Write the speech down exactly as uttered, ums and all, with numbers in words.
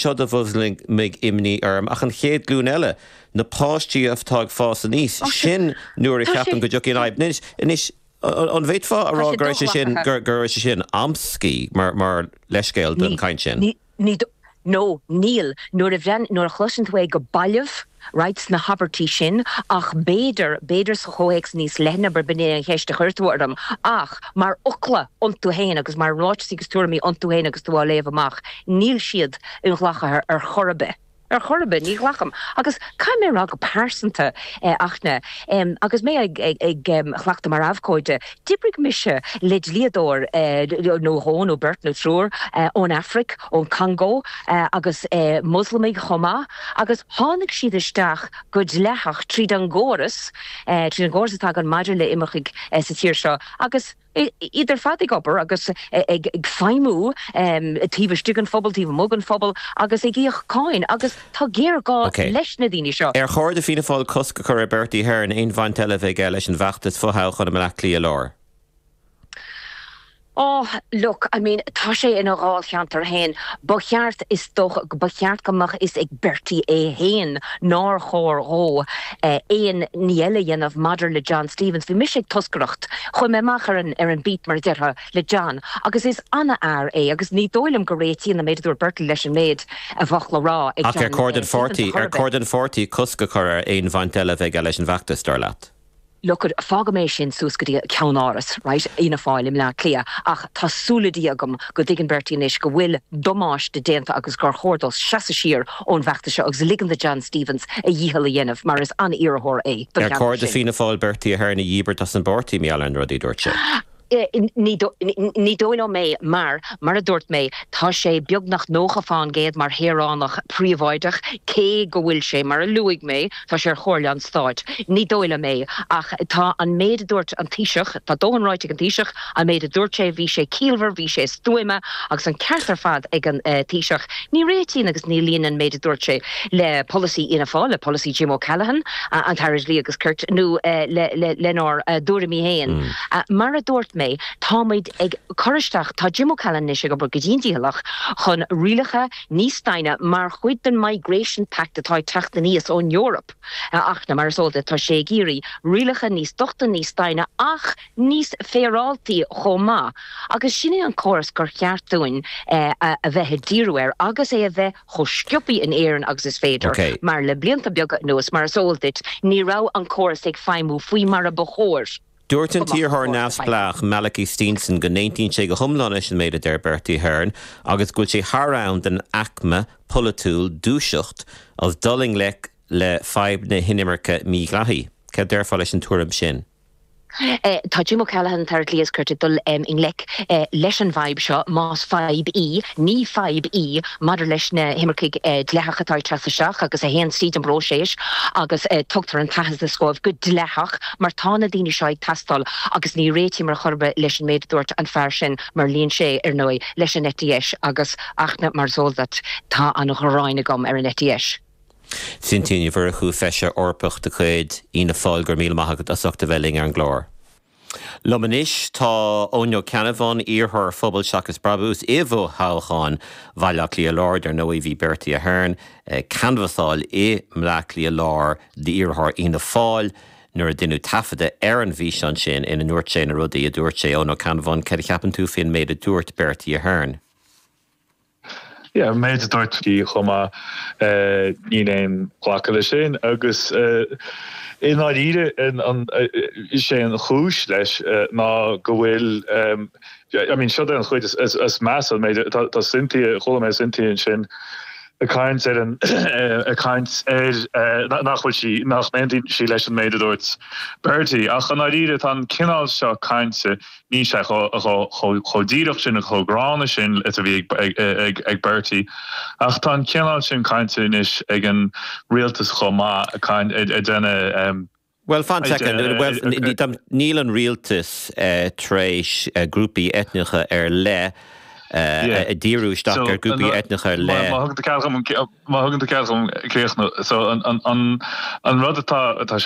Seo a mhúsclaíonn imní orm ach an chéad ghlúin eile na páistí atá ag fás aníos sin nuair a cheapann go dtiocfaidh an fhadhb. Anois an bhféadfá a rá gur sé sin gur sé sin amscaí mar mar leithscéal don chaint sin. Ní no níl nuair a bhean nuair a chloiseann tú é go balbh right sna habairtí sin ach b'fhéidir b'fhéidir sa chomhthéacs níos leithne bar b'in an cheist a chuir tú orm ach mar fhocla iontu féin agus mar ráitis agus tuairimí iontu féin agus tú á léamh amach níl siad inghlactha ar chor ar bith. Ar chor ar bith ní ghlacaim agus caithfidh mé rá go pearsanta eh, achna um, agus mé ag, ag, ag um, cleachtadh mar abhcóide d'oibrigh mise le dlíodóir eh, nó dhó nó beirt nó triúr eh, ón Afraic ón Congo eh, agus eh, Muslamaigh chomh maith agus tháinig siad isteach go dleathach tríd an gcóras eh, tríd an gcóras atá ann maidir le imircigh eh, sa tír seo agus iad ar fad ag obair agus ag ag feidhmiú taobh istigh den phobal taobh amuigh den phobal agus ag íoc cáin agus tá géarghá Okay. leis na daoine seo. Ar chóir do Fianna Fáil cosc a chur ar Bertie Ahern aon bhaint eile a bheith leis an bhfeachtas fothoghcháin i mBleá Cliath Láir. Oh, look, I mean, tá sé ina dháilcheantar féin, ba cheart is dócha ba cheart go mbeadh fhios ag Bertie é féin nár chóir dó eh, aon ní eile a dhéanamh maidir le John Stevens. Bhí mise ag toscaireacht chuaigh mé amach ar an ar an beat mar a déarfá le John, agus is an-fhear é agus ní dóigh liom go réitíonn an méid a dúirt Bertie leis an méid a bheadh le rá ag Ach ar John chóir don eh, Stevens pháirtí a ar chor ar bith. chóir don pháirtí cosc a chur ar aon bhaint eile a bheith leis an bhfeachtas dar leat. Look fágfaidh mé sin suas go dtí ceannáras, right, Fhianna Fáil i mBleá Cliath, ach tá súil agam go dtuigeann Bertie anois go bhfuil damáiste déanta agus gur chóir dó seasamh siar ón bhfeachtas seo agus ligean do John Stevens a dhícheall a dhéanamh mar is an-iarrthóir é don Ar cheantar chóir do sin. Fianna Fáil Bertie Ahern a dhíbirt as an bpáirtí mar gheall ar na rudaí a dúirt sé. Eh, ní ní dóigh liom é mar mar a dúirt mé tá sé beagnach nócha faoin gcéad mar shaoránach príobháideach cé go bhfuil sé mar a luaigh mé tá sé ar Chomhairle an Stáit. Ní dóigh liom é ach tá an méid a dúirt an Taoiseach tá dóthain ráite ag an Taoiseach an méid a dúirt sé bhí sé ciallmhar bhí sé stuama agus an ceart ar fad ag an uh, Taoiseach. Ní réitíonn agus ní líon an méid a dúirt sé le polasaí Fhianna Fáil le polasaí Jim O'Callaghan uh, an tAire Dlí agus Cirt nó uh, le, le, lenár uh, dtuairimí féin. Mm. Uh, mar a dúirt mé táimid ag cur isteach tá Jim O'Callaghan anois ag obair go dian-dícheallach chun rialacha níos déine mar chuid den Migration Pact atá ag teacht aníos ón Eoraip. Ach na mar is eol tá sé ag iarraidh rialacha níos dochta níos déine ach níos féaráilte chomh maith. Agus sin é an córas gur cheart dúinn eh, a a bheith ag díriú air agus é a bheith chomh sciobtha in Éirinn agus is féidir. Okay. Mar le blianta beaga anuas mar is eol duit ní raibh an córas ag feidhmiú faoi mar a ba chóir. Dúirt an Go maith, t-iarrthóir go neamhspleách Malachy Steenson go n-aontaíonn sé go hiomlán leis an méid a deir Bertie Ahern agus go bhfuil sé thar am don aicme pholaitiúil dúiseacht agus dul i ngleic le fadhb na hinimirce mídhleathaí. Cad déarfá leis an tuairim sin. Eh, tá Jim O'Callaghan tar lías cuirte dul um, i ngleic eh, leis an bhfadhb seo más fadhb í, ní fadhb í maidir leis na himircigh eh, dleathacha atá ag teacht isteach agus a théann tríd an bpróiseas agus eh, tugtar an t-aitheantas dóibh go dleathach mar tá na daoine seo ag teastáil agus ní réitím ar chor ar bith leis an méid a dúirt an fear sin mar luíonn sé ar ndóigh leis an eite dheis agus achna mar zódat tá an ghráin agam ar an eite dheis. Cynthia Ní Mhurchú feisire Eorpach de chuid Fhianna Fáil go raibh míle maith agat as ucht a bheith linn ar an gclár. Liom anois tá Eoin Ó Ceannabháin iarrthóir Phobal Seachas Brabús i bhfothoghchán Bhaile Átha Cliath Láir ar ndóigh bhí Bertie Ahern ag canbhasáil i mBleá Cliath Láir d'iarrthóir Fhianna Fáil nuair a deineadh taifeadadh ar an bhfíseán sin ina ndúirt sé na rudaí a dúirt sé Eoin Ó Ceannabháin cad a cheapann tú faoin méid a dúirt Bertie Ahern. Ja, méid dúirt í chomh ní aon ghlacadh leis sin agus i ndáiríre sé an chúis leis ná go bhfuil I mean seo an chuid is is measa méid tá Cynthia chuala mé Cynthia sin ag caint ar an ag caint ar nach bhfuil sí nach n-aontaíonn sí leis an méid a dúirt Bertie ach i ndáiríre tá an cineál seo cainte ní sé chomh díreach sin chomh gránna sin is a bhí ag ag Bertie ach tá an cineál sin cainte anois ag an rialtas chomh maith ag déanamh Well fan second well níl an rialtas uh, tar éis uh, grúpaí eitneacha ar leith uh, díriú isteach ar grúpaí eitneacha ar leith. Má thugann tú cead críochnú so an an an rud atá atá